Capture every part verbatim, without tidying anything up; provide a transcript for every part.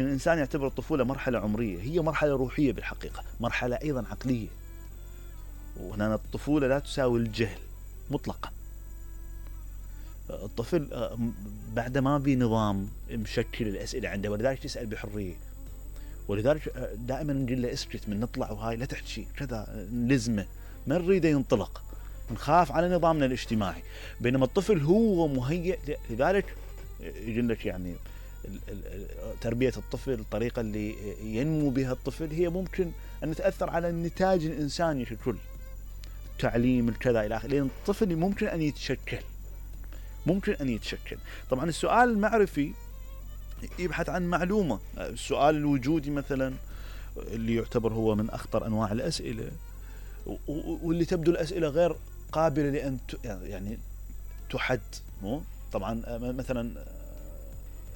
الإنسان يعتبر الطفولة مرحلة عمرية، هي مرحلة روحية بالحقيقة، مرحلة أيضا عقلية. وهنا الطفولة لا تساوي الجهل مطلقا. الطفل بعد ما بنظام مشكل الأسئلة عنده، ولذلك تسأل بحرية، ولذلك دائما نقول له اسكت من نطلع وهاي لا تحكي كذا، نلزمه ما نريده ينطلق، نخاف على نظامنا الاجتماعي. بينما الطفل هو مهيئ، لذلك يقول لك يعني تربية الطفل، الطريقة اللي ينمو بها الطفل هي ممكن أن تأثر على النتاج الإنساني ككل، التعليم الكذا إلى آخره، لأن الطفل ممكن أن يتشكل ممكن أن يتشكل. طبعا السؤال المعرفي يبحث عن معلومة، السؤال الوجودي مثلا اللي يعتبر هو من أخطر أنواع الأسئلة، واللي تبدو الأسئلة غير قابلة لأن يعني تحد. مو طبعا مثلا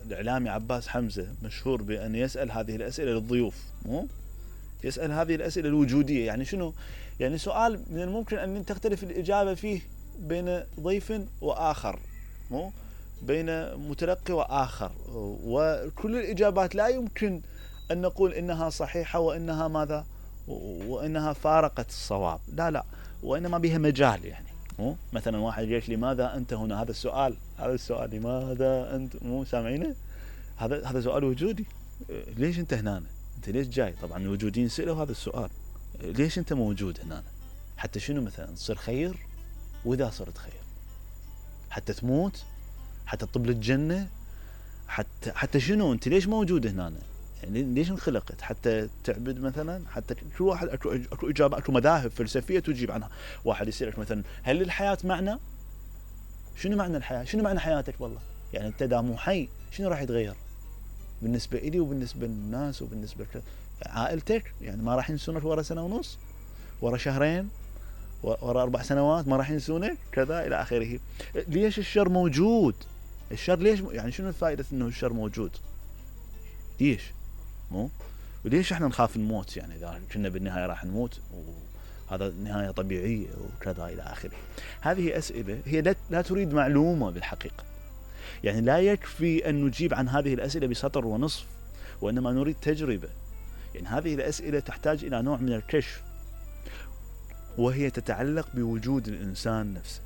الإعلامي عباس حمزة مشهور بأن يسأل هذه الأسئلة للضيوف، مو يسأل هذه الأسئلة الوجودية. يعني شنو؟ يعني سؤال من الممكن أن تختلف الإجابة فيه بين ضيف وآخر، مو بين متلقي وآخر، وكل الإجابات لا يمكن أن نقول إنها صحيحة وإنها ماذا وإنها فارقت الصواب، لا لا، وإنما بها مجال. يعني مو مثلا واحد يقول لماذا أنت هنا، هذا السؤال هذا السؤال لماذا أنت، مو سامعينه؟ هذا هذا سؤال وجودي. ليش أنت هنا؟ أنت ليش جاي؟ طبعا الوجوديين سألوا هذا السؤال، ليش أنت موجود هنا؟ حتى شنو مثلا تصير خير؟ وإذا صرت خير حتى تموت؟ حتى تطب للجنة؟ حتى حتى شنو؟ أنت ليش موجود هنا؟ يعني ليش انخلقت؟ حتى تعبد مثلا؟ حتى كل واحد اكو اكو اجابه، اكو مذاهب فلسفيه تجيب عنها. واحد يسالك مثلا هل للحياه معنى؟ شنو معنى الحياه؟ شنو معنى حياتك والله؟ يعني انت دا مو حي شنو راح يتغير بالنسبه لي وبالنسبه للناس وبالنسبه لعائلتك؟ يعني ما راح ينسونك ورا سنه ونص، ورا شهرين، ورا اربع سنوات ما راح ينسونك كذا الى اخره. ليش الشر موجود؟ الشر ليش يعني شنو الفائده انه الشر موجود؟ ليش؟ مو وليش احنا نخاف الموت؟ يعني اذا كنا بالنهايه راح نموت وهذا نهايه طبيعيه وكذا الى اخره. هذه اسئله هي لا تريد معلومه بالحقيقه. يعني لا يكفي ان نجيب عن هذه الاسئله بسطر ونصف، وانما نريد تجربه. يعني هذه الاسئله تحتاج الى نوع من الكشف، وهي تتعلق بوجود الانسان نفسه.